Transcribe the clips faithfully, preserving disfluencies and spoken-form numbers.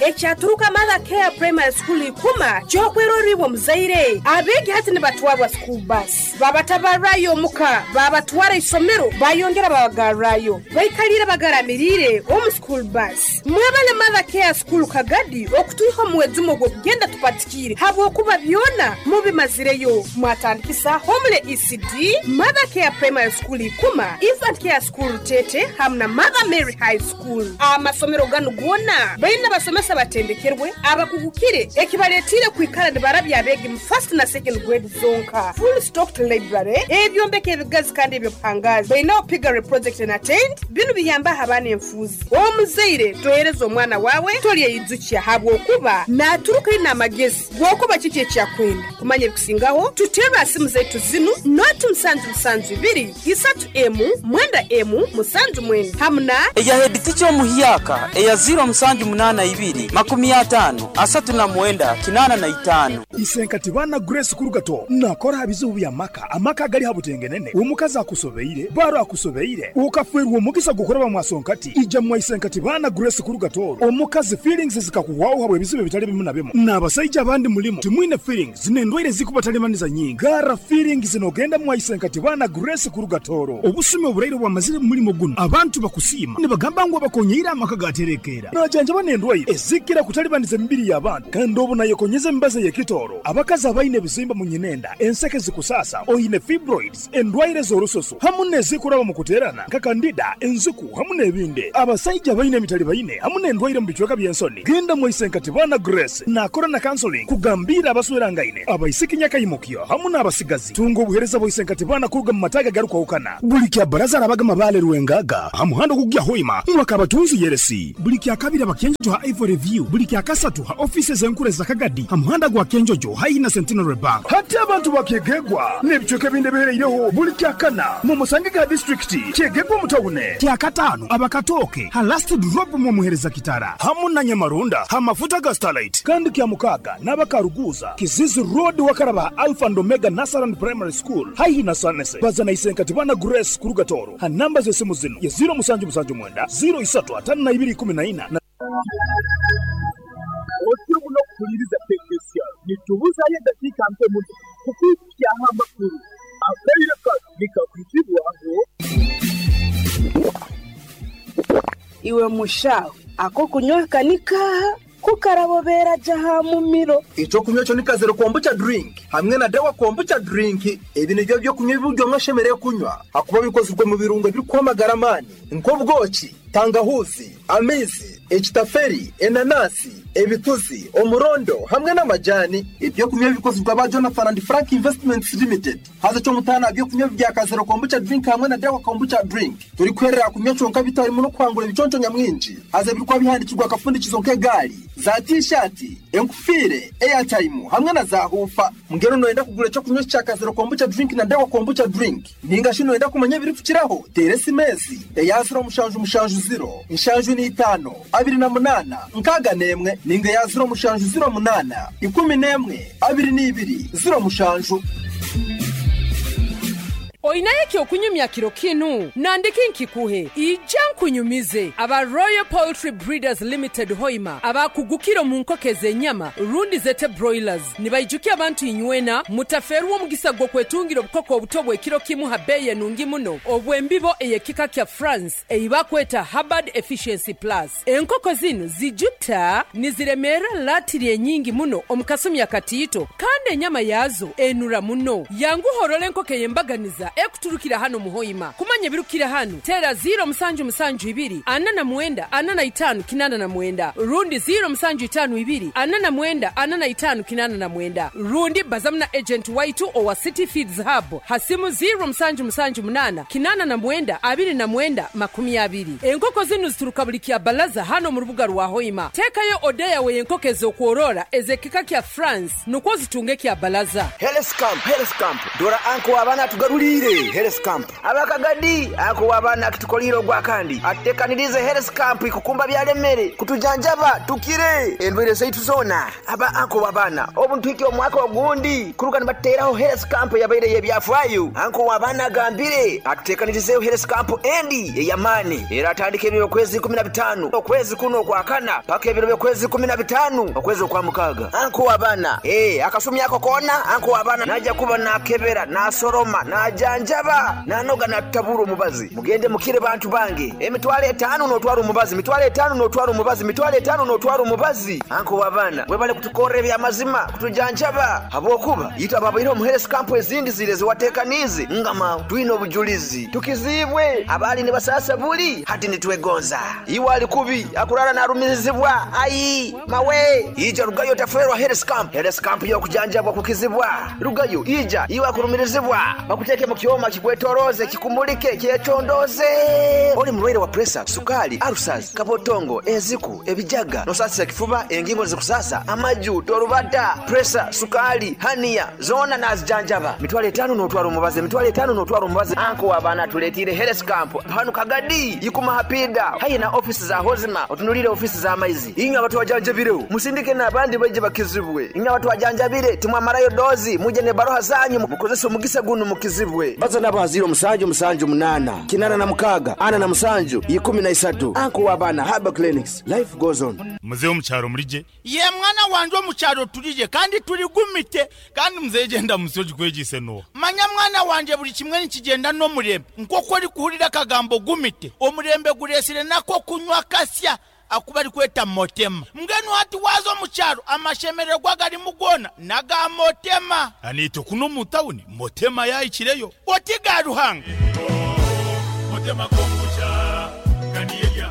Ekyaturuka Mother Care Primary School ikuma kyokweroribwa muzaire. Abegi hati nibatwarwa school bus. Babatabarayo omuka, babatwara isomero, bayongera babagarrayo. Baikalire bagaramirire omu school bus. Mwebale Mother Care School Kagadi okutuiha omwezumo gw'okugenda tupatikire habwokuba byona mubimazireyo. Mwatandikisa Homule E C D, Mother Care Primary School ikuma, Infant Care School Tete hamwe na Mother Mary High School. Amasomero ganu gona baina basomesa batendekerwe abakugukire ekibaletire kwikara nibarabya abegi mu first na second grade zonka. Full stocked library, ebyombeko ebigazi kandi ebyobuhangazi. Baina piggery project na tent binu biyamba abaana enfuzi. Omuzaire tohereza omwana wawe tolyeyijukia habwokuba naturuka ina amagezi gwokuba kiki ekyakwenda. Kumanya ebikusingaho tutera simu zaitu zinu noti musanju musanju ibiri isatu emu mwenda emu musanju mwenda hamuna eya head teacher omuhyaka eya zero musanju munana ibiri makumi atano asatu na mwenda kinana na itano. Isenkati bana Grace Kurugato nakora bizibu bya maka amaka gali habutengenene omukazi akusobeire baro akusobeire ukafwerwa omugisa gukora bamwasonkati ija mwa Isenkati bana Grace Kurugato omukazi feelings zikakuwaho habwe bizibu bitali bimu na bimu n'abasajja abandi mulimo timwine feelings zinendwaire zikubatalimaniza nyingi gara feelings zinogenda mwa Isenkati bana Grace Kurugatoro obusumi oburaire bwamazire mulimo guno abantu bakusima nibagamba ngo bakonyeira amaka gaterekera najanja banendwaire ezikira kutalibaniza emibiri y'abantu kandi obu nayekonyeza embaze yekitoro abakazi abaine ebizimba mu nyinenda enseke zikusasa oyine fibroids endwaire z'orususu hamu nezikuraba mu kuterana nka kandida enzuku hamu n'ebindi abasajja baine emitali baine hamu n'endwaire mu bicweka by'ensoni genda mu Isenkati bana Grace nakora na counseling kugambira abaswerangaine abaisiki nyakayimukyo hamu n'abasigazi tunga obuhereza bwa Isenkati bana kuruga mu mataga garukwahukana buli kya baraza arabaga mabale rwengaga hamuhando kugya hoima mwakabatunzi yeresi buli kya kabiri abakenjojo ha Ivory View buli kya kasatu ha offices enkure za Kagadi hamuhanda gwa Kenjojo haina Centenary Bank hati abantu bakegegwa n'ebicweka ebindi bihereireho buli kya kana mu Musangiga district kyegegwa mutawune kya katano abakatoke ha last drop mu muhereza kitara hamu na Nyamarunda ha mafuta ga Starlight kandi kya mukaga n'abakaruguza Kizizi Road wakaraba Alpha and Omega Nasaran Primary School haihi na Sanese bazana Isenkati bana Grace Kurugatoro ha namba z'esimu zino ya zero musanju musanju mwenda zero isatu atano na ibiri kumi na ina. Otyo muno kukuliriza tekesya nitubuzayo eddakiika mpe muno kukwikyaho amakulu akaire kano nikakuzibwaho. Iwe mushaho ako kunywa kanika kukarabobera jaha mumiro. Ekyokunywa kyo ni Kazero Kombucha drink hamwe na Dawa Kombucha drink. Ebi nibyo byokunywa ibiryo mwashemereye kunywa hakuba bikozwe mu birungo biri amani nk'obwoki, tangahuzi, amizi, ekitaferi, enanasi, ebituzi, omurondo hamwe n'amajani. Ibyo kunywa bikozwe ba Jonathan and Frank Investments Limited. Haza cyo mutana byo kunywa bya Kazero Kombucha drink hamwe na Dawa Kombucha drink turi kwerera kunywa cyonka bitarimo no kwangura ibiconco nyamwinji. Haza birikwa bihandikirwa akafundikizo nk'egari za t-shirt, enkufire, airtime hamwe na za hufa. Mungero noenda kugura cyo kunywa cya Kazero Kombucha drink na Dawa Kombucha drink ninga shino enda kumanya biri kukiraho tere simezi eya zero mushanju mushanju zero inshanju ni itano abiri na munana nkaga nemwe ninga ya zero mushanju zero munana ikumi nemwe abiri n'ibiri zero mushanju. Oinayeki okunyumya kiro kinu nandiki nkikuhe ija nkunyumize aba Royal Poultry Breeders Limited Hoima abakugukiro mu nkoko z'enyama rundi zete broilers nibaijukia abantu inywena mutaferwa omugisa gwo kwetungira obukoko obuto bw'ekiro kimu ha beye nungi muno obwembibo eyekika kya France eibakweta Hubbard Efficiency Plus. Enkoko zino zijuta niziremera latiri enyingi muno omukasumi akatiito kandi enyama yazo enura muno yanguhorole enkoko yembaganiza ekuturukira hano muhoima. Kumanya birukira hano tera zero musanju musanju ibiri ana na mwenda ana na itanu kinana na mwenda rundi zero musanju itanu ibiri ana na mwenda ana na itanu kinana na mwenda rundi bazamna agent waitu owa City Feeds Hub hasimu zero musanju musanju munana kinana na mwenda abiri na mwenda makumi abiri. Enkoko zinu zituruka buli kya balaza hano mu rubuga rwa Hoima. Tekayo odeya we enkoko z'okworora ezekika kya France nukwo zitunge kya balaza. Health camp, health camp dora anko abana tugaruli. Atutekanirize health camp abakagadi ako abaana akitukolire ogwa kandi atutekanirize health camp ikukumba byalemere kutujanjaba tukire endwire zaitu zona aba anko wabana obuntwiki omwaka ogundi kuruga nibateraho health camp yabaire yebyafaayo anko wabana agambire atutekanirizeyo health camp endi eyamani era atandika ebiro kwezi kumi na bitano okwezi kuno kwa kana paka ebiro byokwezi kumi na bitano okwezi okwa mukaga anko wabana eh akasumi ako kona anko wabana naja kuba nakebera nasoroma najanjaba nanoga natabura omubazi mugende mukire bantu bange emitwale etano notwara omubazi mitwale etano notwara omubazi mitwale etano notwara omubazi anko wabana webale kutukorera ebyamazima kutujanjaba habwokuba yita babaire omu health camp ezindi zire ziwatekanize ngama twine obujulizi tukizibwe abali ne basasa buli hati nitwegonza iwe ali kubi akurara narumirizibwa ayi mawe ija rugayo taferwa health camp health camp yokujanjabwa kukizibwa rugayo ija iwe akurumirizibwa bakuteke mu kyoma kikwetoroze kikumulike kyetondoze oli mulwaire wa pressure sukali ulcers kabotongo eziku ebijaga nosasira kifuba engingo zikusasa amaju torubata pressure sukali hania zona nazijanjaba mitwale etano notwara omubazi mitwale etano notwara omubazi anko wabana tuletire health camp hanu kagadi yikuma hapida hayi na ofisi za hozima otunulire ofisi za maizi inywe abantu wajanjabireho musindike n'abandi baje bakizibwe inywe abantu wajanjabire timwamarayo dozi muje ne baroha zanyu mukozese omugisa guno mukizibwe baza n'abaziro musanju musanju munana kinana na mukaga ana na musanju ikumi na isatu anko wabana haba clinics life goes on. Muzehe omukyaro mulije ye mwana wanje omukyaro tulije kandi tuligumite kandi muzehe genda musoji kwegise no manya mwana wanje buli kimwe nikigenda n'omurembe nk'oku ori kuhurira akagambo gumite omurembe guresire nako kunywa kasya akuba ari kweta motema mbwenu hati waza omukyaro amashemererwa garimu gona naga motema anito kuno mu tawuni motema yayikireyo oti ga Ruhanga motema kombucha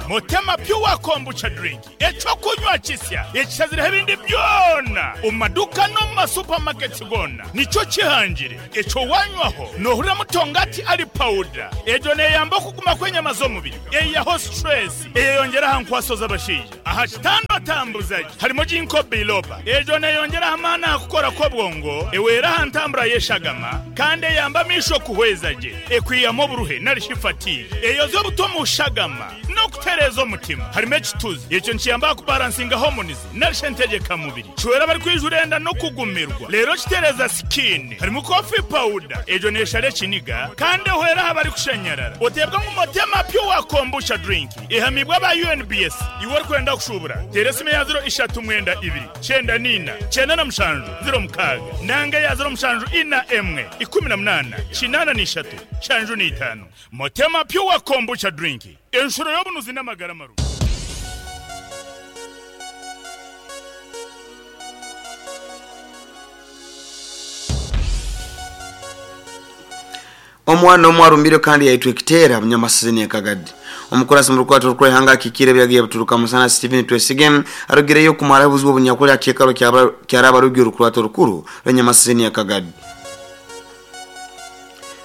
Motema pure kombucha drink ekyokunywa kisya ekisazire ebindi byona omumaduka no mu masupamaketi gona nikyo kihangire ekyo wanywaho nohurira mutongati ali powder ejo neyamba okuguma kw'enyama z'omubiri eyaho stress eyeyongeraho nkwaso z'abashaija aha kitando atambuzaji harimo ginkgo biloba ejo neyongeraho amaani aha kukora kw'obwongo eweraho ntambura y'eshagama kandi eyamba amisho kuhweza gye ekwiyamu oburuhe narishi fatigue eyoza obuto mu shagama no kutereza omutima harimo ekituzi ekyo nkiyamba kubalansinga hormones narishe ntegeka mubiri kiwera bari kwijurenda no kugumirwa rero kitereza skin harimo coffee powder ejo neshare ekiniga kandi ehwera abari kushanyarara otebwa ngu motema pure kombucha drink ehamibwa ba U N B S iwe ori kwenda kushubura tera esimu ya zero ishatu mwenda ibiri cyenda nina cyenda na mushanju zero mukaga nanga ya zero mushanju ina emwe ikumi na munana kinana n'ishatu shanju n'itanu motema pure kombucha drink enshuro y'obunuzi n'amagara maru. Omwana omwarumbire kandi yaitwe ekiteera munyamasizini ekagadi omukurasi mu rukwata rw'ihanga kikire byagiye buturuka musana Stephen Twesige arugireyo kumara buzibu obunyakuli akekalo kyaraba rugyo rukwata rukuru rw'enyamasizini ekagadi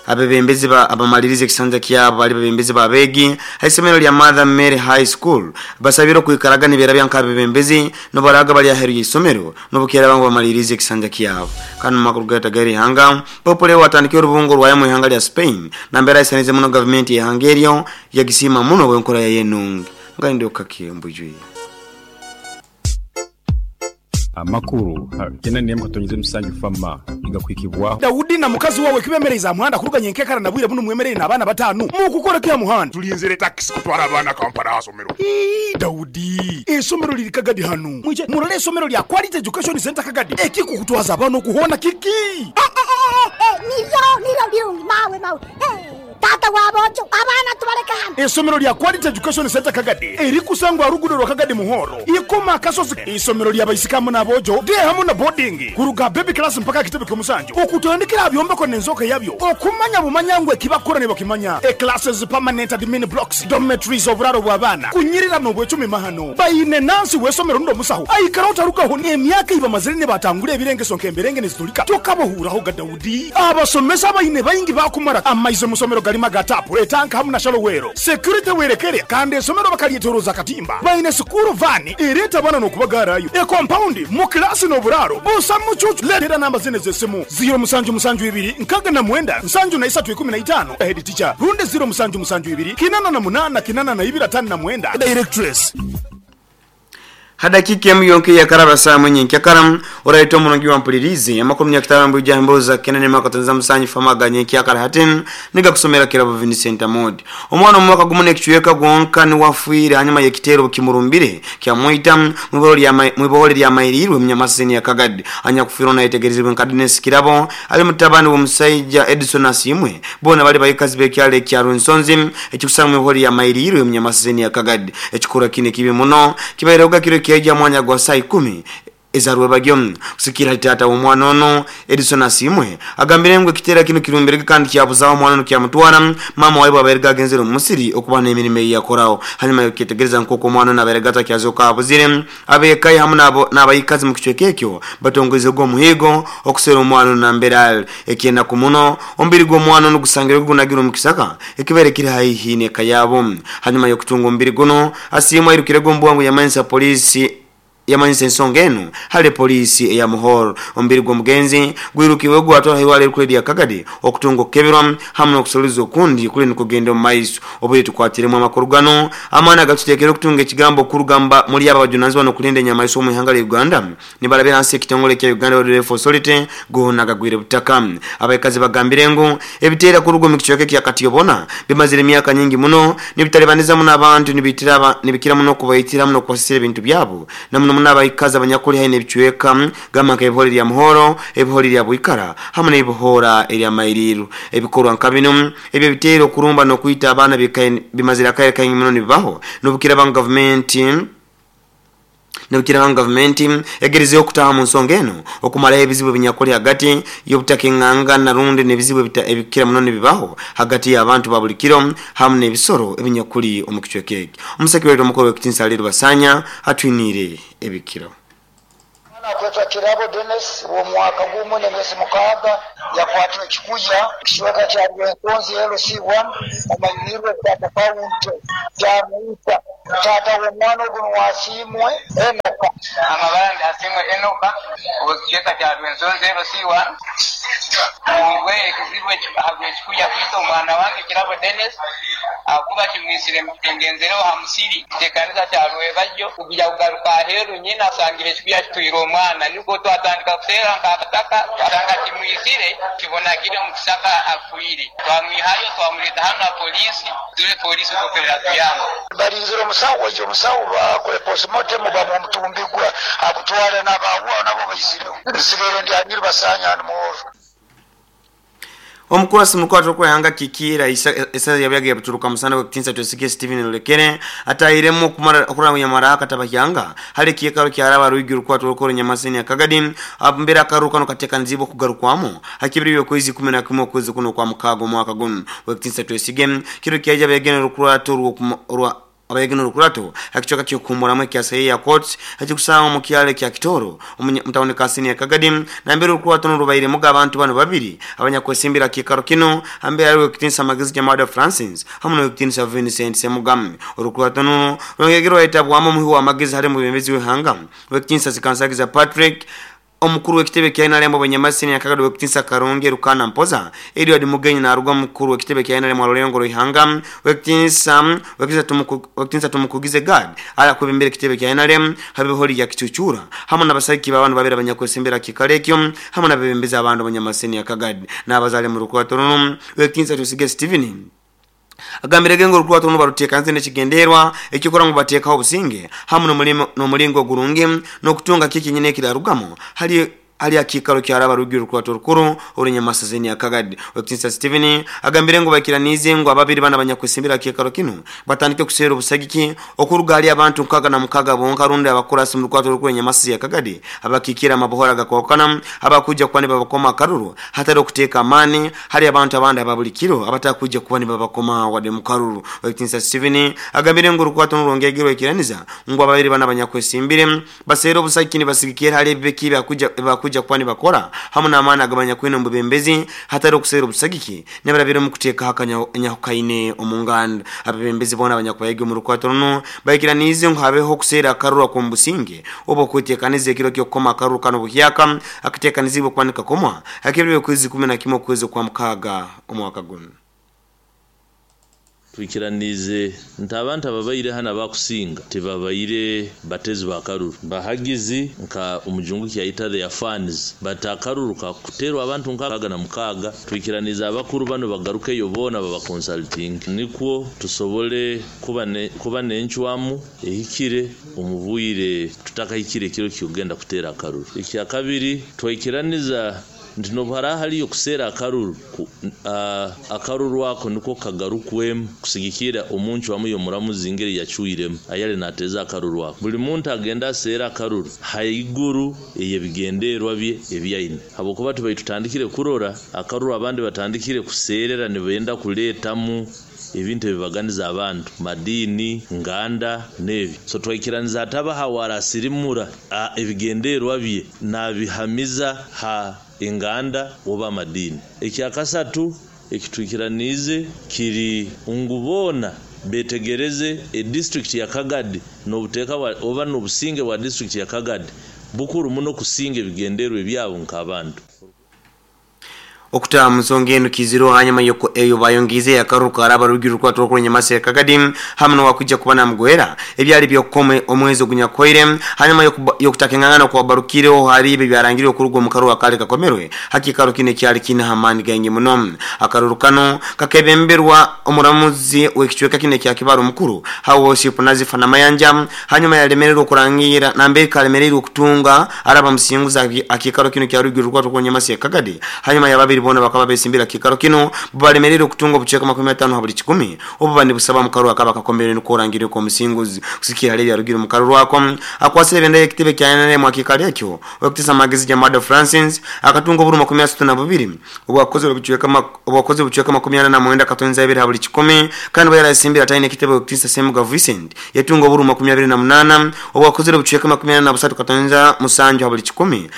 abebembezi ba abamalirize ekisanja kyabo bali bebembezi babegi haisomero lya Mother Mary High School basabira kwikaraga nibera byanka abebembezi no baraga bali aheru y'isomero no bukera bangu bamalirize ekisanja kyabo kanu makuru gatagari hanga popole watandikira urubungo rwa mu ihanga lya Spain nambera isanize muno government ya Hungary yagisima muno wenkora ya yenungi ngandi okakimbujwe amakuru tena niye mukatonyeze musanju fama igakwikibwa Daudi na mukazi wawe kibemereza muhanda kuruganye nkekara nabwire buno mwemerere nabana batanu mukukora kya muhanda tulinzire taxi kutwara abana Kampala asomero. Ii Daudi esomero liri Kagadi hanu mwije murole esomero lya Quality Education Center Kagadi ekikukutwaza abana okuhona kiki nivyo nivyo birungi mawe mawe tata wabojo abana tubareka hano esomero lya Quality Education Center Kagadi eri kusangwa rugudo rwa Kagadi muhoro ikoma kasozi isomero lya baisikamu nabojo de hamu na boarding kuruga baby class mpaka kitebe kyomusanjo okutandikira byombeko nenzoka yabyo okumanya bumanyangwe kibakora ne bakimanya e classes permanent admin blocks dormitories oburaro bw'abana kunyirira no bwecumi mahano bayine nansi wesomero ndo musaho aikara utarukaho emyaka iba mazire ne batangure ebirengeso nkemberenge nezitulika tokabohuraho ga Daudi abasomesa bayine bayingi bakumara amaize musomero galima ga tapu etanka hamu na shalowero security werekere kandi esomero bakalyetoroza katimba baine sukuru vani ereta bana nokubagarayo e compound mu klasi n'oburaro busa mucucu letera namba zine z'esimu zero musanju musanju ibiri nkaga na mwenda nsanju na isatu ikumi na itano head teacher runde zero musanju musanju ibiri kinana na munana kinana na ibiri atano na mwenda directress. Hadakika emu yonke ya karaba saa mwenye nkyakaram oraito mulungi wa mpulirizi amakumi ya kitarambu ujamboza kenene makatanza musanyi famaga nyenkyakara hatin niga kusomera kirabo Vincent Amodi omwana omwaka gumune kichweka gwonka ni wafuire hanyuma yekitero kimurumbire kya muita mwibolo ya mwibolo lya mairirwe mnyamasini ya Kagadi anya kufiro na itegerezwe nkadines kirabo ali mutabani wa musaija Edison Asimwe bona bali bayikazi bekyale kya Runsonzi ekikusanga mwibolo ya mairirwe mnyamasini ya Kagadi ekikura kine kibi muno kibaireuga kiro kya mwanya gwa saa ikumi ezarwe bagyo kusikira tata omwana ono Edison Asimwe agambire ngo kitera kino kirumbire kandi kyabuzaho omwana ono kyamutwara mama waibwe aberega agenzere mu musiri okuba n'emirimo eyakoraho hanyuma yokitegereza nk'uko omwana ono aberega atakyazoka abuzire abekayi hamwe nabo n'abayikazi mu kicweka ekyo batongeze gw'omuhigo okusera omwana ono nambere ali ekyenda ku muno omubiri gw'omwana ono gusangire gunagira omu kisaka ekibere kiri haihi n'eka yabo hanyuma y'okutunga omubiri guno Asimwe airukire gw'ombwangu yamanyisa polisi yamanyisa ensonga eno hale polisi eya Muhoro omubiri gw'omugenzi gwirukiwe gwatwala hiwale erikule lya Kagadi okutunga okukeberwa hamwe n'okusuliza okundi kuli nikugenda omu maiso obuli tukwatiremu amakuru gano amaani agatuteekera okutunga ekigambo okurugamba muri aba bajunanizibwa n'okulinda enyamaiso omu ihanga lya Uganda nibalabira hansi ekitongole kya Uganda Wildlife Authority goona gagwire butaka abaikazi bagambire ngu ebiteera kuruga omu kicweka ekya Katiyobona bimazire emyaka nyingi muno nibitalibaniza muno abantu nibitira nibikira muno okubaitira muno okubasisira ebintu byabo na muno n'abayikazi abanyakuli haine ebichweka gamba nka ebihori lya Muhoro ebihori lya Bwikara hamwe n'ebihora erya Mairiru ebikorwa nka bino ebyo biteera okurumba n'okwita abaana bimazire akaire kaingi muno nibibaho n'obukira ba gavumenti n'obukira ba gavumenti egerezeho okutaha mu nsonga eno okumalaho ebizibu ebinyakuli hagati y'obutaka enganga narundi n'ebizibu ebikira muno nibibaho hagati y'abantu ba buli kiro hamwe n'ebisoro ebinyakuli omu kicweka eki omusekireti omukuru w'ekitinisa Aliru Basanya atwiniire ebikiro. Akwetwa Kirabo Dennis wo mwaka gumu n'emyezi mukaaga yakwatwa ekikuya kicweka kya Rwensonzi L C one omanyirwe kwata kaunti kyamuita tata w'omwana oguno wasiimwe Enoka amabara asimwe Enoka owekicweka kya Rwensonzi L C one mwe ekizibu ekikuya kwita omwana wange Kirabo Dennis akuba kimwisire ngenzereho ha musiri tekanisa kya Rwebajjo kugya kugaruka aheeru nyina asangire ekikuya kitwire omwana niko twatandika kuseera nk'akataka twasanga kimwisire kibonagire mu kisaka afiire twamwihayo twamureta hano na polisi tule polisi kukorera tuyamba barinzire omusawo ojo omusawo bakore postmortem bamutumbigwa akutwara n'abawa nabo baisireho nsigaire ndi Amiru Basanya hano Muhoro. Omukurasi mukwato kwehanga kikira isa yabyage buturuka musana wekitinsa twesige Steven Lolekere atahiremo kumara okuranga maraka tabahyanga hali kiyekaro kyaraba ruigi rukwato rukoro nyamaseni akagadi mbera akaruka no kateka nzibo kugarukwamo hakibiri kwezi kumi na kimwe kwezi kuno kwa mukago mwaka guno wekitinsa twesige kiro kyaja begene rukurato rwa abayegeno rukurato hakichoka kyokumura kya sayi ya court hakikusanga mu kyale kya Kitoro mutawone kasini ya Kagadi na mbere rukurato n'urubaire muga abantu bano babiri abanyakwesimbira kikaro kino ambere ari wekitinsa magezi kya Mada Francis hamwe n'wekitinsa Vincent Semugam rukurato n'uno rwongegero etabwamo muhi wa magezi hari mu bembezi w'ihanga wekitinsa sikansagiza Patrick omukuru w'ekitebe kya N R M abanyamasini ya Kagadi wekitinsa Karonge Rukana Mpoza Edward Mugenyi na arugwa mukuru w'ekitebe kya N R M Arolengo Ruhanga wekitinsa wekitinsa tumuku wekitinsa tumukugize God ala kubembere kitebe kya N R M habihori ya Kichuchura hamwe n'abasaki babantu babera abanyakwesembera kikalekyo hamwe n'abebembeza abantu abanyamasini ya Kagadi n'abazale mu rukwato runo wekitinsa tusige Steven agambire ngo rukwato runo barutekanze nekigenderwa ekikora ngo batekaho obusinge hamwe n'omulimo n'omulingo gurungi n'okutunga kiki nyine kirarugamo hali ali akikaro kyaraba rugi rukwato rukuru orinyamasazeni akagadi wekitinsa Steven agambire ngo bakiranize ngo ababiri bana abanyakwesimbira kikaro kino batandike kusera obusagiki okuruga ali abantu nkaga na mukaga bonka rundi abakurasi mu rukwato rukuru nyamasazeni akagadi abakikira amabohora gakokana abakuja kwani babakoma karuru hatari okuteka amani hari abantu abandi ababulikiro abatakuja kwani babakoma wade mukaruru wekitinsa Steven agambire ngo rukwato rongegero ekiraniza ngo ababiri bana abanyakwesimbire basera obusagiki nibasigikira hali ebiki bakuja bakuja kuba nibakora hamu n'amaani agabanyakwine omu bubembezi hatari okuseera obusagiki nibarabire omu kuteekaho akanyahukaine omu nganda. Abebembezi boona abanyakubayega omu rukwato runo baikiraniize ngu habeho okuseera akaruru ak'omu businge oba okweteekaniza ekiro ky'okukoma akaruru kano buhyaka akateekanizibwe kuba nikakomwa hakiro by'okwezi kumi na kimwe okwezi kwa mukaaga omwaka guno. Twikiranize nti abantu ababaire hano abakusinga tibabaire batezi bakaruru bahagizi nka omujungu kyayita their fans but akaruru kakuterwa abantu nkaaga na mukaaga. Twikiranize abakuru bano bagarukeyo boona baba consulting nikwo tusobole kuba ne, kuba n'encwamu ehikire omubwire tutakahikire ekiro kyogenda kutera akaruru. Ekya kabiri twikiraniza nti nobuhara haliyo kuseera akaruru uh, akaruru ako niko kagarukwemu kusigikira omuntu wamu yomuramuzi ngeri yacuiremu ayali nateza akaruru ako. Buli muntu agenda aseera akaruru haiguru eyebigenderwa bye ebyaine habwokuba tubaye tutandikire kurora akaruru abandi batandikire kuseerera nibenda kuleetamu ebintu ebibaganiza abantu madini nganda nebi. So twikiraniza ataba hawarasirimura ebigenderwa bye nabihamiza ha enganda oba madini. Ekyakasatu ekitwikiranize kiri ngubona betegereze e district ya Kagadi n'obuteeka oba n'obusinge bwa district ya Kagadi bukuru muno kusinga ebigenderwa ebyabo nk'abantu. Okuta musonge eno kiziro hanyuma yoko eyo bayongize akaruru karaba rugi rukwato rukuru Nyamasi ya Kagadi hamwe n'owakuja kuba namugwera ebyali byokome omwezi ogunyakoire hanyuma yokutakengana kwa barukireho hari ibi byarangiriwe kurugo mu karuwa kale kakomerwe hakikaro kine kyali kine hamani gange muno. Akaruru kano kakebemberwa omuramuzi w'ekicweka kine kya Kibaro mukuru hawo worship Nazifa Namayanja hanyuma yalemererwa kurangira nambe kalemererwa kutunga araba musinguza akikaro kino kya rugi rukwato rukuru Nyamasi ya Kagadi hanyuma yababiri bona bakaba besimbira kikaro kino balemerere okutunga obuceka makumi atano ha buli kikumi obu bandi busaba mu karuwa kaba kakombere n'okurangirira ko musinguzi kusikira hali byarugire mu karuwa ako akwasire benda ekitebe kya N R M akikali ekyo okutisa magezi ja Mado Francis akatunga oburu makumi asatu na bubiri obwakoze obuceka obwakoze obuceka makumi ana na mwenda katonza ibiri ha buli kikumi kandi bayara simbira tayine ekitebe okutisa Semuga Vincent yatunga oburu makumi abiri na munana obwakoze obuceka makumi ana na busatu katonza musanju ha buli kikumi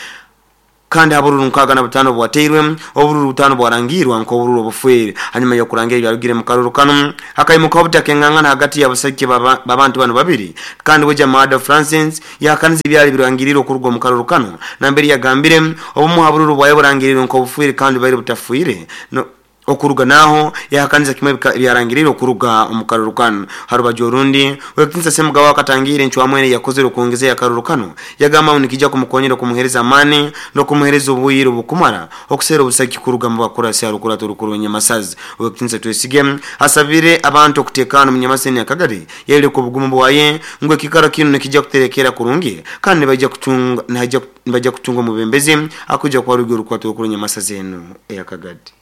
kandi abururu nkaga na butano bwateirwe obururu butano bwarangirwa nko obururu obufwere. Hanyuma yo kurangira byarugire mu karuru kano akayimuka obutakengangana hagati y'abasajja babantu bano babiri kandi weja Mado Francis yakanize byali birangiriro okurugo mu karuru kano nambere yagambire obumu abururu bwaye burangiriro nko obufwere kandi bari butafwire no okuruga naho yakaniza kimwe byarangiriro okuruga mu karuru kano. Harubajo orundi wekinsa Semuga wakatangire ncwamwene yakozere okuongezea akaruru kano yagamba unikija kumukonyera kumuhereza amani no kumuhereza obuyiro bukumara okusera obusaki kuruga mu bakurasi arukura turukuru Nyamasazi. Wekinsa Twesige asabire abantu okutekana mu Nyamaseni ya Kagadi yele ko bugumu bwaye ngwe kikaro kino nikija kuterekera kurungi kandi bajja kutunga naja bajja kutunga mu bembezi akuja kwa rugi rukwato rukuru Nyamasazi eno ya Kagadi.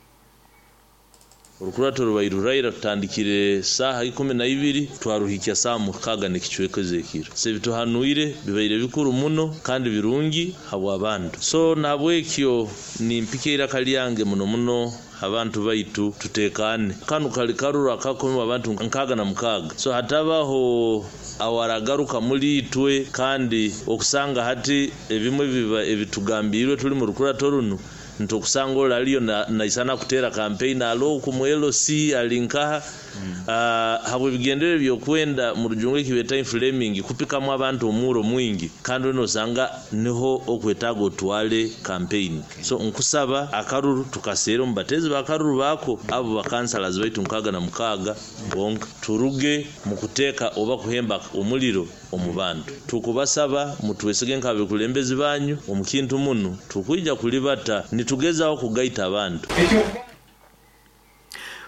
Orukurato rubairuraira tutandikire saha ikumi na ibiri twaruhikya saa mukaga n'ekicweka ekiro. Se bituhanuire bibaire bikuru muno kandi birungi habwa abantu. So nabwekyo nimpikeira kalyange muno muno abantu baitu tutekane. Kanu kali karuru akakomi abantu nkaga na mukaga. So hatabaho awaragaruka muri itwe kandi okusanga hati ebimwe biba ebitugambirwe tuli mu rukurato runo ntokusanga olaliyo na naisana kutera campaign alo ku L C alinkaha mm. uh, habwe bigendere byokwenda mu rujungu kibeta inflaming kupikamu abantu omuro mwingi kandi no sanga niho okwetago otwale campaign. Okay. So nkusaba akaruru tukasera mubatezi bakaruru bako abo bakansalas baitu nkaga na mukaga bonka turuge mukuteka oba kuhemba omuliro omubantu tukubasaba mutwesige nkabe kulembezi banyu omukintu muno tukwija kulibata nitugezaho kugaita abantu.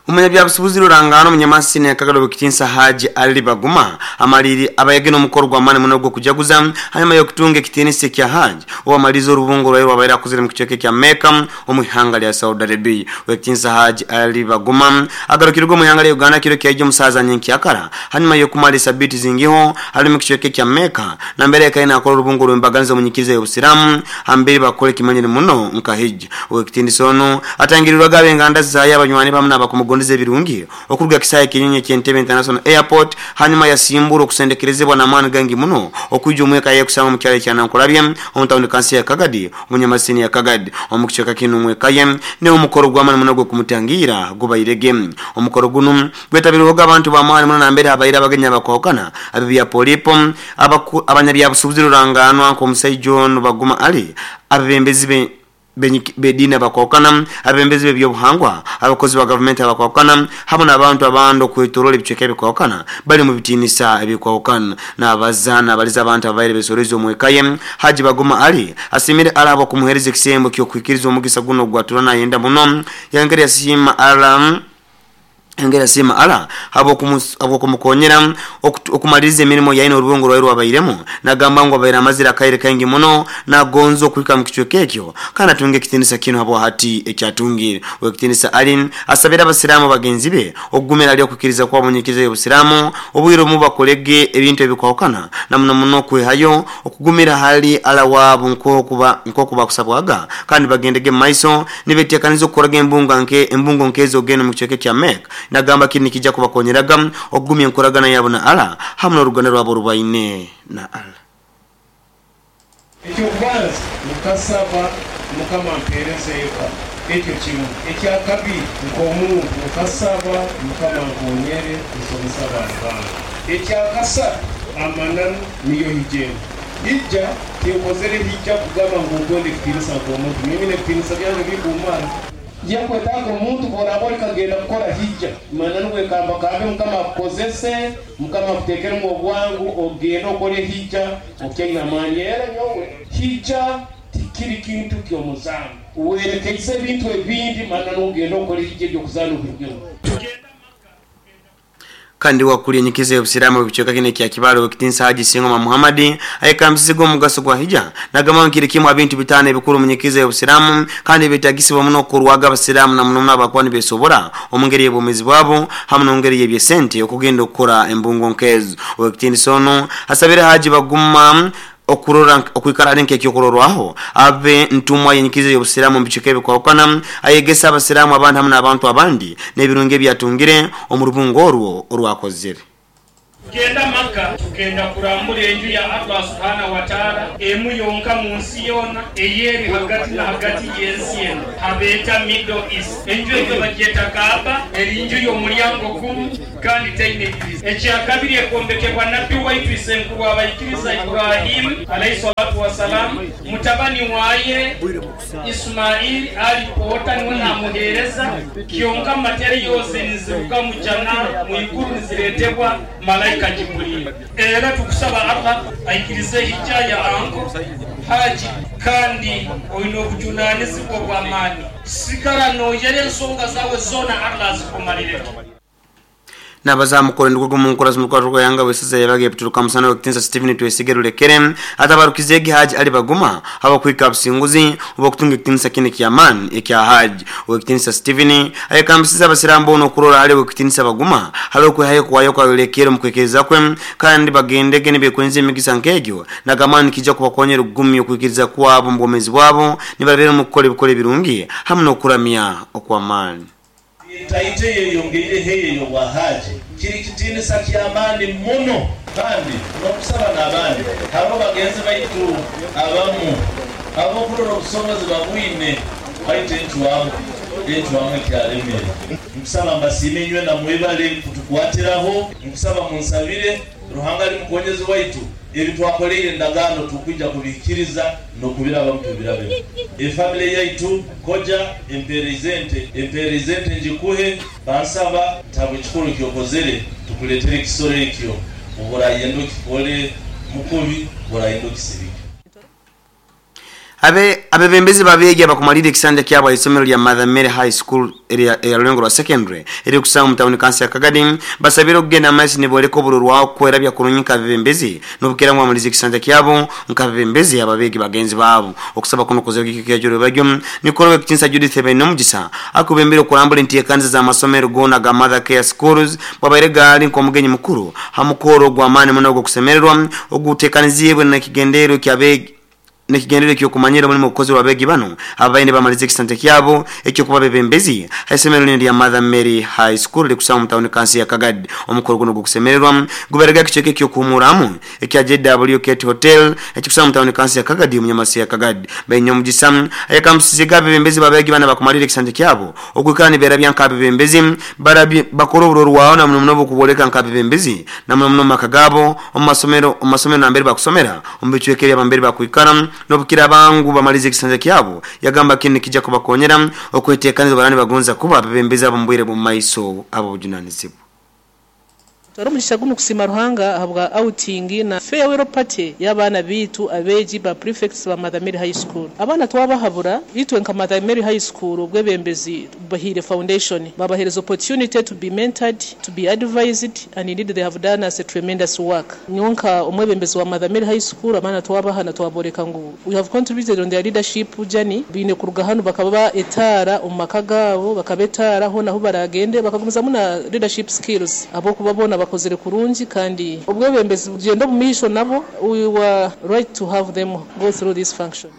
Umunyabyabusubuzi rurangano Munyamasini yakagalo kitinsa Haji Ali Baguma amaliri abayegeno omukoro gwa mani muno gwo kujaguza hanyuma yo kutunga ekitinisa kya Haji owamaliza orubungo rwayo wabaira akuzire mu kicweka kya Mecca omuhanga lya Saudi Arabia. Wekitinsa Haji Ali Baguma agarukirwa omuhanga lya Uganda kiro kyaje omusaza nyenkyakara hanyuma yo kumalisa biti zingiho ali mu kicweka kya Mecca na mbere yakaina akora orubungo rw'embaganiza omunyikiriza y'obusiramu hambere bakole kimanyire muno nka hijja. Wekitinisa ono atangirirwa gabenganda zaye abanywani bamwe n'abakumugondeza kumugondeza ebirungi okuruga kisaayi ekinyonyi eky'Entebbe International Airport hanyuma yasimbura okusendekerezebwa n'amaani gangi muno okwijja omweka yekusanga mu kyalo ekyanankulabye omu tawuni kansi ya Kagadi omunyamasini ya Kagadi omu kicweka kinu omweka ye ne omukoro gw'amaani muno gw'okumutangira gubairege. Omukoro guno gwetabirweho abantu b'amaani muno nambere abaire abagenyi abakwahukana ab'ebya polipo abanyabyabusuubuzi ruranganwa nk'omusaija ono Baguma Ali abebembezi be bedini abakwahukana abebembezi b'ebyobuhangwa abakozi ba gavumenti abakwahukana hamwe n'abantu abandi okwetoroora ebicweka ebikwahukana bali mu bitiinisa ebikwahukana n'abazaana abaliza abantu ababaire besoreze omweka ye. Haji Baguma Ali asimire Allah abakumuhereza ekisembo ky'okwikiriza omugisa guno ogwatura nayenda muno yangeri yasiima Allah engera sima ala habo okumukonyera okumaliriza emirimu yaine orubungo rwaire rwabairemu nagamba ngu abaire amazire akaire kaingi muno nagonza okuhika mu kicweka ekyo kandi atunge ekitinisa kino habo hati ekyatungire. Owekitinisa Ali asabira abasiraamu bagenzi be okugumira ali okukkiriza kwabo nyikiza y'obusiraamu obwire omu bakolege ebintu ebikwahukana na muno muno okwehayo okugumira hali ala waabo nk'okuba nk'okuba kusabwaga kandi bagendege mu maiso nibeteekaniza okukoraga embunga nke embungo nkezo ogenda mu kicweka kya Mecca nagamba kini kijja kubakonyeraga okugumya enkoragana yabo na Allah hamwe n'oruganda rwabo rubaine na Allah. Ekyokubanza mukasaba Mukama ampeereze eka ekyo kimu. Ekyakabiri nk'omuntu mukasaba Mukama ankonyere nsomesa abaana bange. Ekyakasatu amananu niyo hijja hijja tinkozere hijja kugamba ngu nkonde ekitiinisa nk'omuntu mimi n'ebitiinisa byange bikumara yakwetaaga omuntu bworaba olikagenda kukora hijja mananu wekamba kambe Mukama akukozese Mukama akuteekeremu obwangu ogende okole hijja okyaine amaani. Era nyowe hijja tikiri kintu ky'omuzaano werekeise ebintu ebindi mananu ogende okole hijja ebyokuzaana obirugemu. Kandi wakuli enyikiza y'obusiraamu ebicweka kino ekya Kibaale owekitinisa Haji Singoma Muhammadi ayekambisize omugaso gwa hijja nagamba ngu kiri kimu ebintu bitaano ebikuru mu nyikiza y'obusiraamu kandi ebitagisibwa muno okurwaga abasiraamu na muno muno abakuba nibesobora omu ngeri y'obwomeezi bwabo hamwe n'ongeri y'ebyesente okugenda okukora embungo nkezo. Owekitinisa ono asabire Haji Baguma okurora okwikara ali nk'ekyokurorwaho abe ntumwa yenyikiza y'obusiraamu mu bicweka ebikwahukana ayegesa abasiraamu abandi hamwe n'abantu abandi n'ebirungi ebyatungire omu rubungo orwo orwakozere. Tugenda Makka tugenda kurambura enju ya Allah subhanahu wa ta'ala emu yonka mu nsi yona eyeri hagati na hagati y'ensi eno habeeta Middle East. Enju eyo bagyeta Kaaba eri nju y'omulyango gumu kandi teine ediriisa. Ekyakabiri ekombekebwa nabbi waitu isenkuru abaikiriza Ibrahim alayhi salatu wassalam mutabani waye Ismail alipoota niwe namuheereza kyonka materials niziruga mu jana mu iguru nizireetebwa malaika Jibril. Era tukusaba Allah aikirize hijja ya anko Haji kandi oyina obujunanizibwa bw'amaani sigala noyera ensonga zawe zona Allah azikumalireko. N'abazamukora endugo mu nkora z'omukwato yanga wesiza yabaga ebituruka musana w'ekitinisa Stephen Twesige Rulekere atabarukize Haji Ali Baguma abakwika businguzi obakutunga ekitinisa kine ky'amaani ekya Haji. Owekitinisa Stephen ayekambisiza abasiraamu boona okurora hali owekitinisa Baguma hali okwehayo kuwayo kwa Rulekere omu kwekeriza kwe kandi bagendege nibekwenza emigisa nk'egyo nagamba kijja kubakonyera okugumya okwikiriza kwabo mu bwomeezi bwabo nibabeera omu kukora ebikora ebirungi hamwe n'okuramya okw'amaani. Taite yeyongeire heyo wa Haji kiri kitinisa ky'amaani muno kandi n'okusaba n'abandi hariho bagenzi baitu abamu abokurora obusobozi babwine baitu enchwamu enchwamu ekyalemere. Nkusaba mbasiime inywe na mwebale kutukwatiraho, nkusaba munsabire Ruhanga ali mukonyezi waitu ebi twakoleire endagaano tukwija kubikiriza n'okubiraba mutubirabe. Efamily yaitu koja empeereza ente empeereza ente njikuhe bansaba ntabwo ekikuru kyokozere tukuletere ekisoro ekyo oburayenda okikole mukubi burayenda okisibike. Abe abebembezi babegi abakumalira ekisanja kyabo isomero lya Mother Mary High School area ya Rulengo rwa secondary eri kusanga mu town council ya Kagadi basabira okugenda amaiso niboleka obururwaho kwera bya kurunyika abebembezi n'obukera ngu amulize ekisanja kyabo nk'abebembezi ababegi bagenzi babo okusaba kuno kuzogika kyajuro bagyo nikoro ekitinsa Judith Benomugisa akubembera okurambula enteekanisa z'amasomero gona ga Mother Care Schools babaire gaali nk'omugenyi mukuru hamukoro gw'amaani muno ogw'okusemererwa oguteekaniziibwe n'ekigendero ky'abegi Nekigendere ekyokumanyira omulimu ogukozerwa abeegi bano abaine bamalize ekisante kyabo ekyokuba bebembezi haisomero lino lya Mother Mary High School likusanga mu tawuni kansi ya Kagadi. Omukolo guno gukusemererwa guberega ekicweka ekyokuhumuramu ekya J W K Hotel ekikusanga mu tawuni kansi ya Kagadi omunyamasi ya Kagadi. Baine omugisa ayakamusiziga abebembezi babeegi bana bakumalira ekisante kyabo okwikara nibeerabya nk'abebembezi barabye bakora oburorwaho na muno muno bukuboleka nk'abebembezi na muno muno maka gabo omu masomero omu masomero nambere bakusomera omu bicweka ebyabambere bakwikara nobukira bangu bamalize ekisanja kyabo. Yagamba kini kijja kubakonyera okwetekaniza barani bagonza kuba abebembezi abo mbwire mu maiso abo bujunanizibwa. Twari guno kusima Ruhanga ahabwa outing na farewell party y'abana bitu abeji ba prefects ba Mother Mary High School. Abana twabahabura itwe nka Mother Mary High School obwebembezi bahire foundation babahereza opportunity to be mentored, to be advised, and indeed they have done us a tremendous work. Nyonka omwebembezi wa Mother Mary High School abana twabahana twaboreka ngu we have contributed on their leadership journey bine kuruga hano bakaba etara omumaka gabo bakabetara ho naho baragende bakagumiza muna leadership skills abo kubabona bakozere kurungi kandi obwebembezi bugenda mu misho nabo we were right to have them go through this function.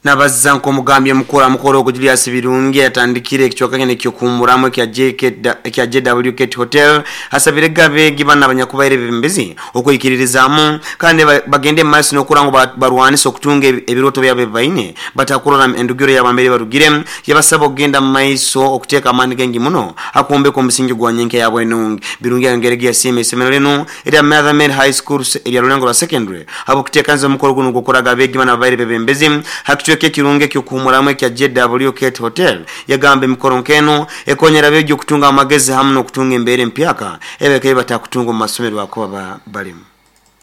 Nabaza nkomugambye mukuru mukoro ogwo Julius Birungi yatandikire ekicweka kene kyokumuramu ekya J K ekya J W K Hotel asabire gabeegi bana abanyakubaire bebembezi okwikiririzaamu kandi bagende mu maaso n'okurango barwanisa okutunga ebiroto byabe baine batakurora endugiro yabambere barugire. Yabasaba okugenda mu maiso okuteeka amaani gengi muno akumbeka omusingi gwa nyenke yabwe nungi. Birungi ayongerege yasiima essomero lino erya Mother Mary High School erya Rulengo lwa secondary habw'okuteekaniza omukolo guno gw'okuraga abeegi bana ababaire bebembezi hakicweka ekirungi ekyokuhumuramu ekya J W K Hotel. Yagamba emikoro nkeno ekonyera abeegi okutunga amagezi hamu n'okutunga embeera empyaka ebeka ebatakutunga omu masomero akoba balimu.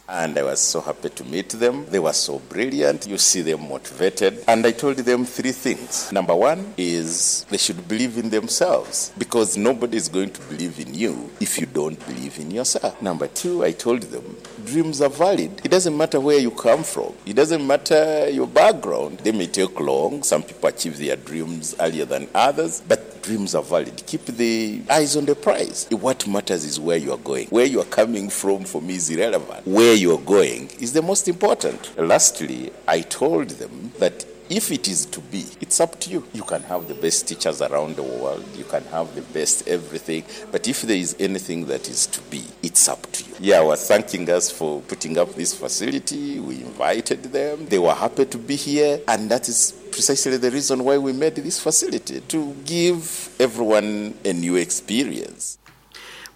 And I was so happy to meet them. They were so brilliant. You see them motivated. And I told them three things. Number one is they should believe in themselves, because nobody is going to believe in you if you don't believe in yourself. Number two, I told them dreams are valid. It doesn't matter where you come from. It doesn't matter your background. They may take long. Some people achieve their dreams earlier than others, but dreams are valid. Keep the eyes on the prize. What matters is where you are going. Where you are coming from, for me, is irrelevant. Where you are going is the most important. Lastly, I told them that if it is to be, it's up to you. You can have the best teachers around the world, you can have the best everything, but if there is anything that is to be, it's up to you. Yeah, were thanking us for putting up this facility. We invited them. They were happy to be here, and that is precisely the reason why we made this facility, to give everyone a new experience.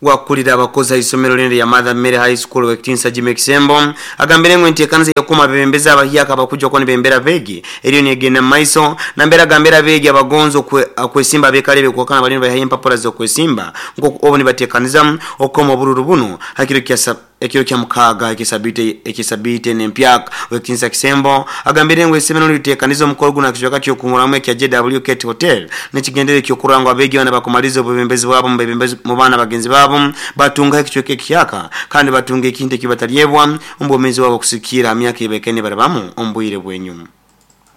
Wakulira abakozi isomero lino lya Mother Mary High School wekitinsa Jimmy Kisembo agambire ngo enteekaniza yakuma bebembeza abahyaka abakujja ko nibembera begi eriyo negenda maiso nambera gambera begi abagonzo kwesimba bekalebe kwakana balino bahaye empapula zo kwesimba ngo obo nibateekaniza okoma obururu buno hakiro kya ekiro kya mukaga ekisabite ekisabite nempyaka wekitinsa Kisembo agambire ngo isomero liteekaniza omukolo guno akicweka kyokumuramu ekya J W K Hotel nekigendere kyokurangwa abegi bana bakumaliza obubembezi bwabo mu bebembezi mu bana bagenzi babo batunga ekicweka ekiyaka kandi batunga ekintu ekibatalyebwa ombomezi wabo kusikira myaka ibekene barabamu ombwire bwenyuma.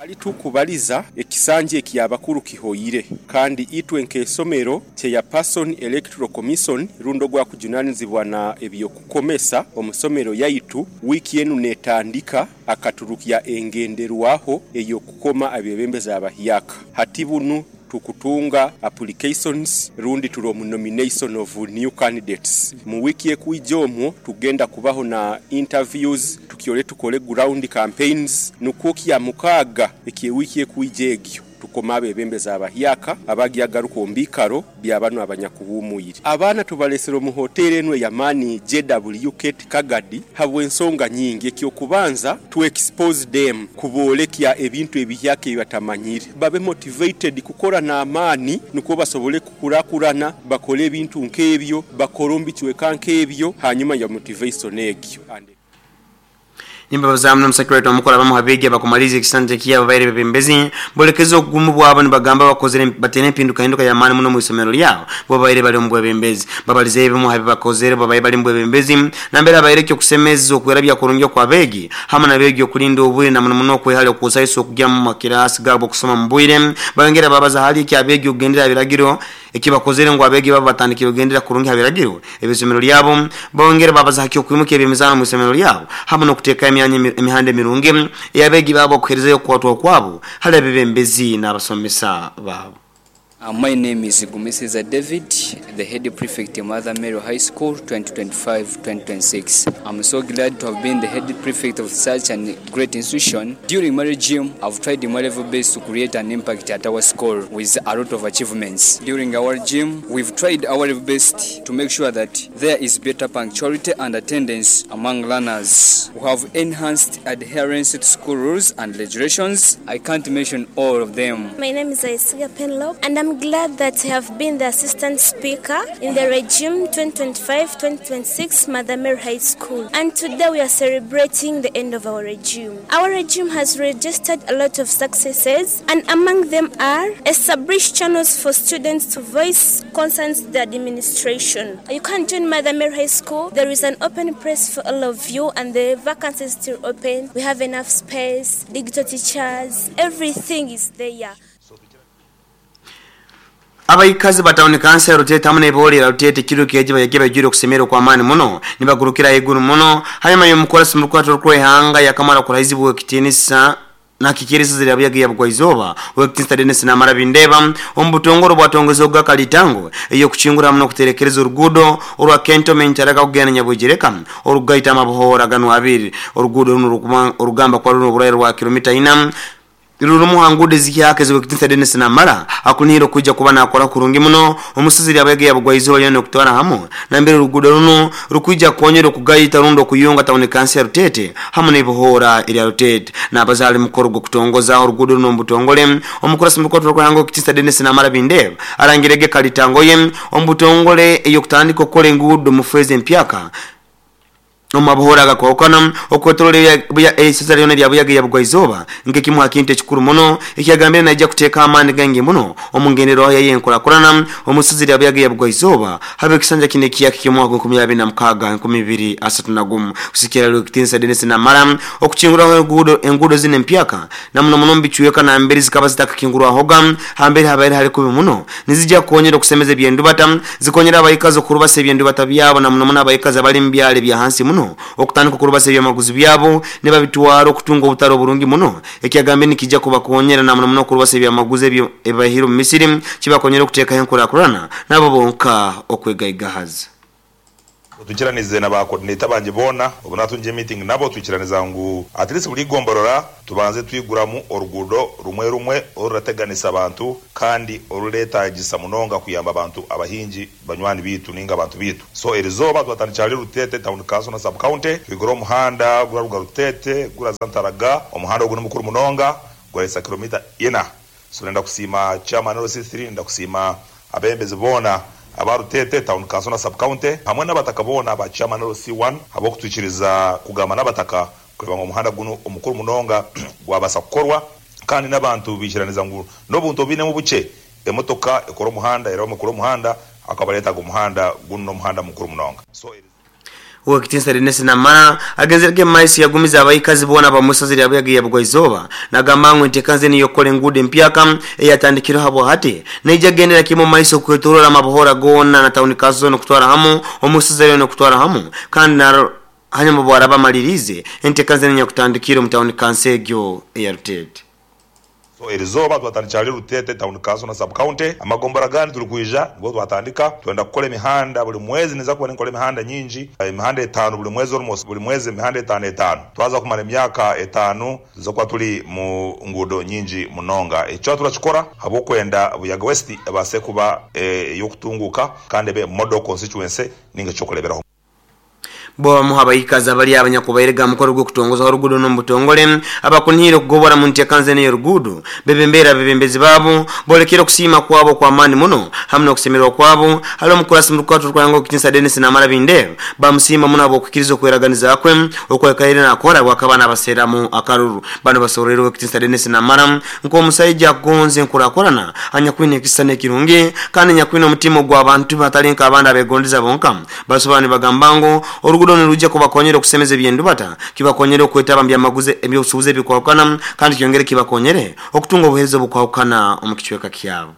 Ali tukubaliza ekisanje ekiyabakuru kihoyire kandi itwe nk'esomero kye Person Electoral Commission rundo gwa kujunanizibwa na ebyokukomesa omusomero yaitu wiki yenu netandika akaturukia engenderwaho eyokukoma abebembeza abahiyaka hatibunu tukutunga applications rundi tulo mu nomination of new candidates mu wiki ekuijomwo tugenda kubaho na interviews tukiole tukole ground campaigns nukuki ya mukaga eki wiki ekuijegyo tukoma abebembeza abahyaka abagiagaruka ombikaro byabano abanyakuhumuyire abana tubalesero mu hotel enwe ya Mani J W K Kagadi habwe ensonga nyingi ekyo kubanza to expose them kubolekya ebintu ebihyaka ebatamanyire babe motivated kukora na amani nuko basobole kukurakurana bakole ebintu nkebyo bakorombi kiweka nkebyo hanyuma ya motivation egyo. Nimba bazamu n'omusekretary omukuru abamu habegi abakumaliza ekisanja kyabo baire bebembezi bolekezo ogumu bwabo nibagamba bakozere batene empinduka hinduka ya maani muno mu isomero lyabo bo baire bali omu bwebembezi babalize ebimu habi bakozere babaye bali mu bwebembezi nambera abaire kyo kusemeza okwerabya kurungi kwa begi hamwe nabegi okulinda obwire na muno muno okwehale okusayisa okujya mu makirasi gabo okusoma mu bwire bayongera babaza hali ki abegi okugendera biragiro Ekibakozere ngu abegi babo batandikire kugendera kurungi habiragiro ebisomero lyabo bongere babaza haki okwimuka ebyemizano mu isomero lyabo hamwe n'okuteeka emyanya emihanda emirungi eyabegi babo okuherezayo okukwatwa kwabo hali abebembezi n'abasomesa babo. Uh, my name is Gumisiza David, the head prefect at Mother Mary High School twenty twenty-five twenty twenty-six. I'm so glad to have been the head prefect of such a great institution. During my regime, I've tried my level best to create an impact at our school with a lot of achievements. During our regime, we've tried our level best to make sure that there is better punctuality and attendance among learners. We have enhanced adherence to school rules and regulations. I can't mention all of them. My name is Aisiga Penlope, and I'm glad that I have been the assistant speaker in the regime twenty twenty-five twenty twenty-six Mother Mary High School. And today we are celebrating the end of our regime. Our regime has registered a lot of successes, and among them are established channels for students to voice concerns to the administration. You can join Mother Mary High School. There is an open press for all of you, and the vacancy is still open. We have enough space, digital teachers, everything is there. Abaikazi batawuni kansa Rutete hamwe n'ebolera Rutete kiro keji bayage bajire okusemera kwa amani muno nibagurukira iguru muno hanyuma y'omukolasi mu rukwato rw'ehanga yakamara kurahizibwa ekitinisa nakikiriza zira byaga yabugwa izoba wekitinsa Dennis Namara Bindeba ombutongoro bwatongeza ogakalitango eyo kuchingura muno kuterekereza urugudo orwa cantonment araka kugenda Nyabujereka orugaita amabuhora gano abiri orugudo runo orugamba kwa runo burayiro rwa kilomita ina Rurumu hangude zikihake ziwekitinsa Dennis Namara akuniro kuja kuba nakora kurungi muno omusiziri abege yabugwa izoba lyano kutwara hamo na mbere rugudo runo rukuja konyero kugayita rundo kuyunga tawuni kansi ya Rutete hamwe n'ibuhora eri Rutete n'abazali mukoro gwo kutongoza orugudo runo mbutongole omukurasi mukoto rwango kitinsa Dennis Namara Bindeba arangirege kalitango ye ombutongole eyo kutandika okora engudo mu feze empyaka Omabuhora gakwokana okwetolole ya esasa lyona lya buyaga yabugwa izoba nke kimwe akinte kikuru muno ekyagambire najja kuteeka amaani gange muno omungenero yaye enkulakulana omusizi lya buyaga yabugwa izoba habe kisanja kine kiyaki kimwaka nkumi abiri na mukaaga nkumi ibiri asatu na gumu kusikira lwekitinsa Dennis Namara okuchingura engudo engudo zine empyaka na muno muno mbichweka na mbere zikaba zitakakingurwa hoga hambere habaire hari kubi muno nizijja konyera okusemeza ebyendubata zikonyera abayikazi okurubasa ebyendubata byabo na muno muno abayikazi abali mu byalo bya hansi muno okutandika okurubasa ebyamaguzi byabo nebabitwara okutunga obutaro burungi muno ekyagambe nikijja kubakonyera na muno muno okurubasa ebyamaguzi ebyo ebahiro mu Misiri kibakonyera okuteekaho enkulakulana nabo bonka okwegaigahaza. Tukiranize na ba coordinator banje bona obuna tunje meeting nabo tukiraniza ngu at least buli gomborora tubanze twiguramu orugudo rumwe rumwe orurateganisa abantu kandi oruleta gisa munonga kuyamba abantu abahinji banywani bitu ninga abantu bitu. So erizoba twatandikira Rutete town council na sub county twigura omuhanda guraruga Rutete gura Zantaraga omuhanda oguno mukuru munonga gwalesa kilomita ina. So nenda kusima chairman R C three nenda kusima abembezi bona abarutete town council na sub county hamwe n'abataka bona ba chairman R C one abo kutwikiriza kugamba n'abataka kureba ngo omuhanda guno omukuru munonga gwabasa kukorwa kandi n'abantu bikiraniza ngo n'obuntu bine mu buce emotoka ekora omuhanda era omukuru omuhanda akabaleta omuhanda guno omuhanda mukuru munonga. So Uwekitinsa Dennis Namara agenzerege maisi yagumiza abayikazi bona bamusazira abuyaga yabugwa izoba nagamba ngu entekanze niyo kole engudo empyaka eyatandikira habo hati neija gendera kimo maiso kwetorora amabuhora gona na tawuni kazo no kutwara hamu omusazira no kutwara hamu kandi na hanyuma bwaraba malirize entekanze niyo kutandikira mu tawuni kansegyo ya Rutete. So erizoba twatandikira Rutete town council na sub county amagombora gani tulikuija nibwo twatandika twenda kukola emihanda buli mwezi niza kuba nkola emihanda nyingi emihanda etano buli mwezi almost buli mwezi emihanda etano etano twaza kumara emyaka etano tuzokuba tuli mu ngudo nyingi munonga ekyo turakikora habwokwenda Buyaga West ebase kuba e, yokutunguka kandi be model constituency ninga kyokuleberaho. Bo muhabayikaza bali abanyakubairega mukoro gwo kutongoza orugudo no mbutongole abakunhire kugobora mu ntekanze ne rugudo bebembera bebembezi babo bolekera kusima kwabo kwa amani muno hamwe no kusemerwa kwabo hali omukurasi mu rukato rwango kitinsa Dennis Namara Bindeba bamusima muno abo kukirizo kweraganiza kwe okwekaire nakora bwakabana abaseramu akaruru bano basorero kitinsa Dennis Namara nko omusajja agonze nkurakorana anyakwine kisane kirungi kandi nyakwine omutima gwa abantu batalinka abandi abegondeza bonka basobani bagambango orugudo nirujja kubakonyera okusemeza ebyendubata kibakonyere okwetaba byamaguze ebyobusubuzi ebikwawukana kandi kyongere kibakonyere okutunga obuheereza obukwawukana omu kicweka kyabo.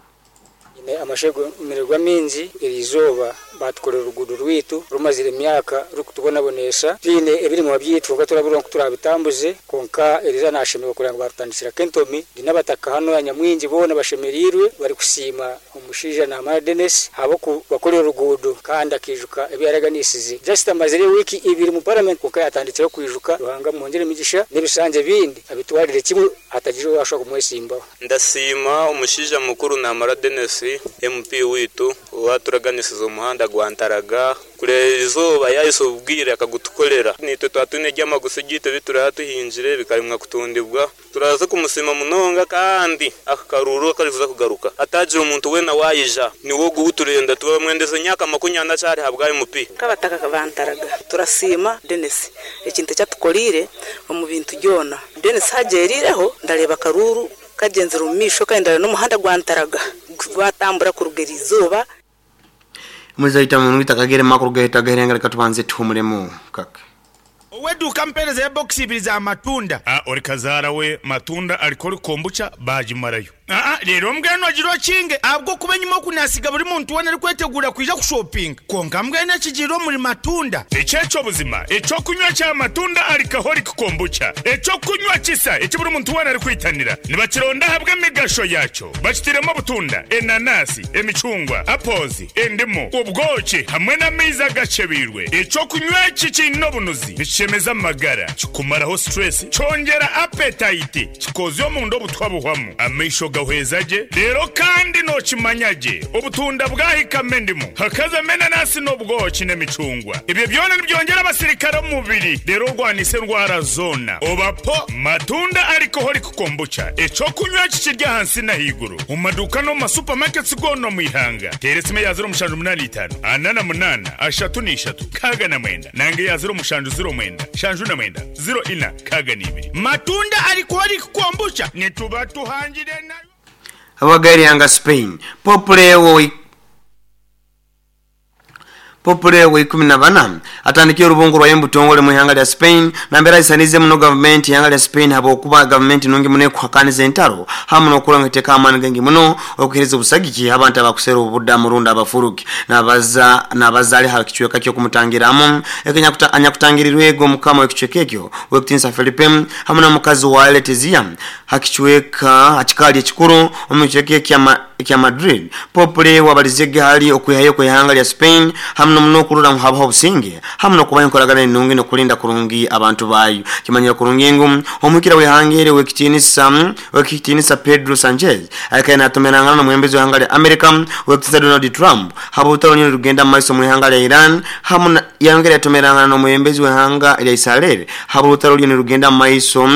Amashemererwa mingi eriizooba batukorera oruguudo rwitu rumazire emyaka rukutubonabonesha twine ebirimwa byaitu konka turabura nku turabitambuze konka eriza nashemererwa kureba ngu barutandikira kentomi ndi n'abataka hano nyamwingi boona bashemereirwe barikusiima omushaija Namara Denis ahabw'okubakorera oruguudo kandi akijuka ebi yaraganisize. Just amazire wiiki ibiri mu parliament konka yatandikire kwijuka. Ruhanga mwongere emigisha n'ebisanja bindi abitwarire kimwe hatagira owashobora kumwesimbaho. Ndasiima omushaija mukuru Namara Denis M P witu owaturaganisize omuhanda gwa Ntaraga kureba izooba yahise obwire akagutukorera nitwe twatwine ebyamaguzi gitu ebi tuhingire bikarimwa kutundibwa. Turaza kumusima munonga kandi akakaruru akarivuza kugaruka atagira omuntu wena wayija niwo guuturenda tubamwendeze nyaka makunyana acyari habwa M P. Kabataka kabantaraga turasiima Denis ekintu kyatukorire omu bintu byona. Denis hagerireho ndareba karuru kagenzera omu misho kandi n'omuhanda gwa Ntaraga gwatambura kurugera izooba. Muzaita munwita kagere makuru gahita gaherenga katubanze tuhumuremo kaka. Oweduka mpereza ya box ibiri za matunda. Ah, ori kazara we matunda alikori kombucha bajimarayo. Ah, rero mbweno agiro kinge abwo kuba nyuma kunasiga buri muntu wena ari kwetegura kwija kushopping. Konka mbwene kigiro muri matunda. Echecho buzima, echo kunywa cha matunda alcoholic kombucha. Echo kunywa kisa eki buri muntu wena ari kwitanira. Nibakironda habwe migasho yacho. Bakitiremo butunda, enanasi, emicungwa, apples, endimu, ubwoki hamwe n'amaizi agacebirwe. Echo kunywa iki kino bunuzi. Nikishemeza amagara, kikumaraho stress, cyongera appetite, kikozyo mu ndo butwabuhwamu. Amaisho gahwezaje rero kandi nokimanyage obutunda bwahikame ndimu hakaza menanasi n'obwoki n'emicungwa. Ibyo byona nibyongera abasirikare mu mubiri rero rwanise ndwara zona obapo matunda alcoholic kombucha. Eco kunywa kikirya hansi na higuru mu maduka no mu supermarkets gono mu ihanga. Teresime ya zero mushanju munani itanu anana munana ashatu n'ishatu kaga na mwenda nange ya zero mushanju zero mwenda shanju na mwenda zero ina kaga n'ibiri. Matunda alcoholic kombucha nituba tuhangire na Abagari yanga Spain Popule wo Popule wo ikumi na bana atandikiye urubungu rwa yembutongole mu ihanga lya Spain na mbera isanize muno government ihanga lya Spain habo kuba government nungi mune kuhakaniza entaro hamu no kuranga teka amani gengi muno okuhereza obusagiki abantu abakusera obudda murunda abafuruki nabaza nabazali hakichweka kyo kumutangiramo ekenya kuta anyakutangirirwego mukama w'ekichweka ekyo wekutinsa Felipe hamu na mukazi wa Letizia hakichweka akikali ekikuru omukichweka kya kya Madrid. Popule wabalizege hali okuhayo ku ihanga lya Spain hamu no kurura muhabaho businge hamu no kubayo nkoragana enungi no kulinda kurungi abantu bayo kimanyira kurungi ngu omukira wehangere wekitinisa wekitinisa Pedro Sanchez akaye natomerangana no mwembezi w'ihanga lya America wekitinisa Donald Trump habo utalo rugenda maiso mu ihanga lya Iran hamu yangere yatomerangana no mwembezi w'ihanga lya Israel habo utalo rugenda maiso.